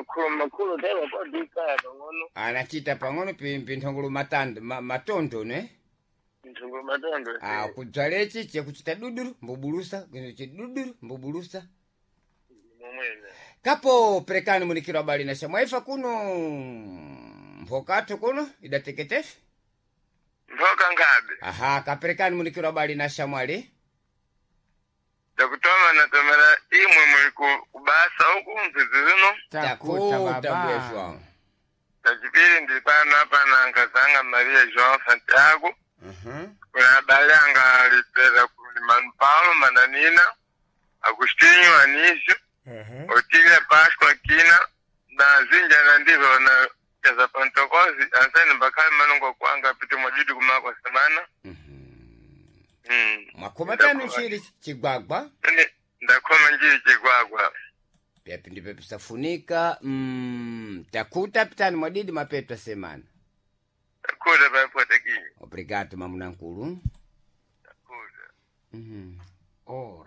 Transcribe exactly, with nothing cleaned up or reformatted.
Makulu makulu tewa kodikaya pang'ono. Anachita pang'ono pi- pinthongolo matando ma, matondo ne. Nthungulu matondo. Ah, kudzalechi chekuchita duduru mbubulusa kuchi duduru mbubulusa. Momwene. Kapo perekani munikiro abali na shamwaifa kuno mphokatho kuno idateketefe. Mphoka nkhabe. Aha, kaperekani munikiro abali na shamwali. Ndakutoma natomera imwe muli ku- kubasa huku mzizi zino. Takuta Takuta mbuya baba. João. Tachipiri ndili pano apa na nkazanga Maria João Santiago. Mhm. Kuna abale anga alipera kuli Manu Paulo Mananina, Agostinho Anísio, Otília Páscoa Quina, na zinja na ndivyo na za Pentecoste, ansani mbakali manungo kwanga piti mwajidi kumako semana. Mm. Mwakoma tano nchiri chigwagwa. Ine ndakoma njiri chigwagwa. Pyapi ndipo pisafunika mm, takuta pitani mwadidi mapeto asemana. Takuta paipota kinyi. Obrigado mamunankulu. Takuta. Mhm. Ora.